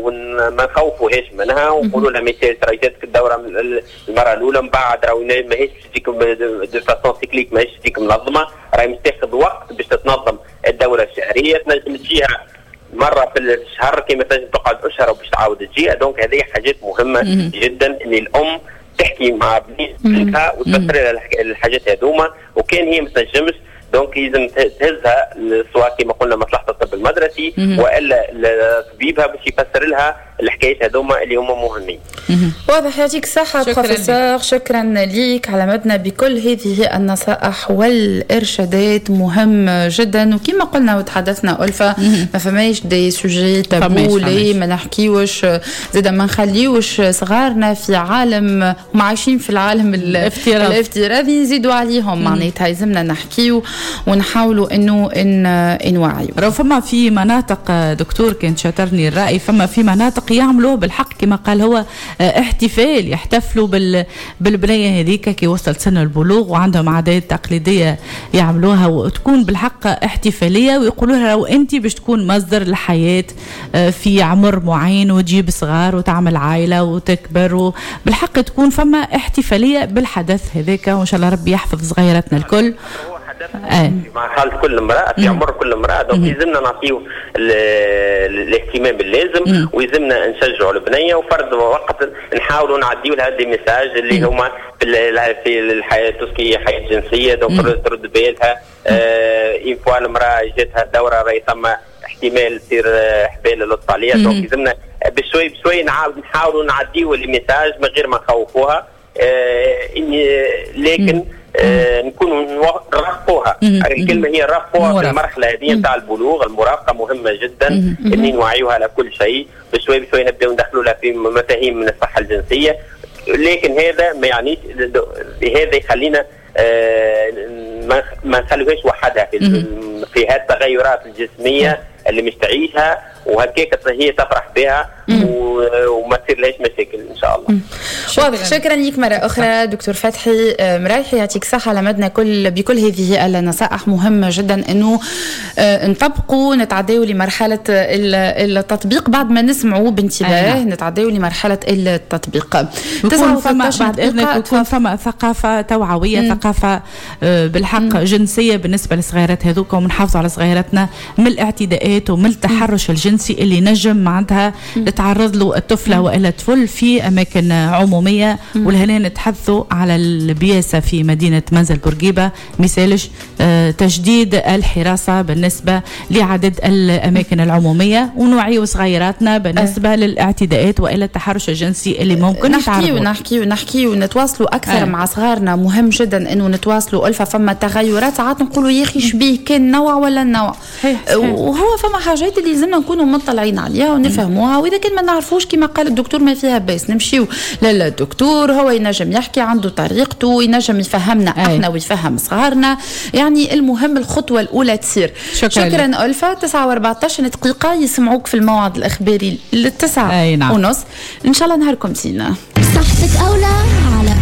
وما نخوفوهاش منها، ونقولوا لها مثال راهي جاتك الدورة المرة الاولى، من بعد راهي ماهيش باش تجيك de façon cyclique، ماهيش تجيك منظمه، راهي مش تاخذ وقت باش تتنظم الدورة الشهريه، تنجم تجيها مرة في الشهر كما تنجم تقعد اشهر باش تعاود تجيها. donc هذه حاجات مهمة جدا ان الام تحكي مع بنتها وتفسر لها الحاجات هذوما، وكان هي ما تنجمش donc لازم تهزها سواء كما قلنا مصلحة الطب المدرسي والا طبيبها باش يفسر لها الحكايات هذوما اللي هما مهمين. واضح، يعطيك الصحة بروفيسور، شكرا ليك على مدنا بكل هذه النصائح والإرشادات، مهم جدا. وكما قلنا وتحدثنا ألفة، ما فماش des sujets tabous لي ما نحكيوش، زاد ما نخليوش صغارنا في عالم هم عايشين في العالم الافتراضي نزيدوا عليهم، معناتها يلزمنا نحكيو ونحاولوا انه ان نوعيو. راهو فما في مناطق دكتور كان شاطرني الرأي، فما في مناطق يعملوا بالحق كما قال هو احتفال، يحتفلوا بالبنيه هذيك كي وصلت سن البلوغ، وعندهم عادات تقليدية يعملوها وتكون بالحق احتفاليه، ويقولوا لها وانت باش تكون مصدر الحياة في عمر معين وتجيب صغار وتعمل عائلة وتكبر، بالحق تكون فما احتفالية بالحدث هذاك، وان شاء الله ربي يحفظ صغيراتنا الكل. مع حالة كل امرأة في عمر كل امرأة، donc يلزمنا نعطيو الاهتمام اللازم، ويلزمنا نشجعوا البنية، وفرد وقت نحاولوا نعديو لها des messages اللي هما في الحياة tout ce qui est حياة جنسية، donc ترد بالها une fois المرأة جاتها الدورة راهي ثم احتمال تصير حبال اللطف عليها. donc يلزمنا بشوي بشوي نحاولوا نعديو les messages من غير ما نخوفوها، لكن نكونوا نرافقوها، الكلمة هي نرافقوها في المرحلة هذه نتاع البلوغ. المرافقة مهمة جدا، اني نوعيوها على كل شيء، بشوي بشوي نبداو ندخلوا لها في مفاهيم من الصحة الجنسيه، لكن هذا ما يعنيش هذا يخلينا ما نخلوهاش وحدها في هالتغيرات الجسمية اللي مش تعيشها، وهكاك هي تفرح بها وما تصير لهاش مشاكل ان شاء الله. واضح، شكرا لك مرة اخرى دكتور فتحي مرايحي، يعطيك الصحة على مدنا بكل هذه النصائح. مهمة جدا انه نطبقوا، نتعداو لمرحلة التطبيق بعد ما نسمعوا بانتباه، نتعداو لمرحلة التطبيق. فما بعد اذنك يكون فما ثقافة توعويه، ثقافة بالحق جنسية بالنسبة للصغيرات هذوك، ونحافظوا على صغيراتنا من الاعتداءات ومن التحرش الجنسي اللي نجم معناتها تتعرض له الطفلة والا الطفل في اماكن عموميه. ولهنا نتحدثوا على البياسه في مدينة منزل بورقيبة، مثالش تجديد الحراسة بالنسبة لعدد الاماكن العمومية، ونوعيوا صغيراتنا بالنسبة للاعتداءات والى التحرش الجنسي اللي ممكن نحكيو نحكيو نحكيو نتواصلوا اكثر مع صغارنا. مهم جدا انه نتواصلوا الفا، فما تغيرات ساعات نقولوا يا اخي شبيه كان نوع ولا النوع، وهو فما حاجات اللي لازمنا نكونوا مطلعين عليها ونفهموها، واذا كان ما نعرفوش كما قال الدكتور ما فيها باس نمشيو للدكتور، هو ينجم يحكي، عنده طريقته، ينجم يفهمنا احنا ويفهم صغارنا. يعني المهم الخطوة الاولى تصير. شكرا ألفا. 9:14 دقيقة يسمعوك في الموعد الاخباري للتسعة ونص. ان شاء الله نهاركم زينة. صحتك اولى.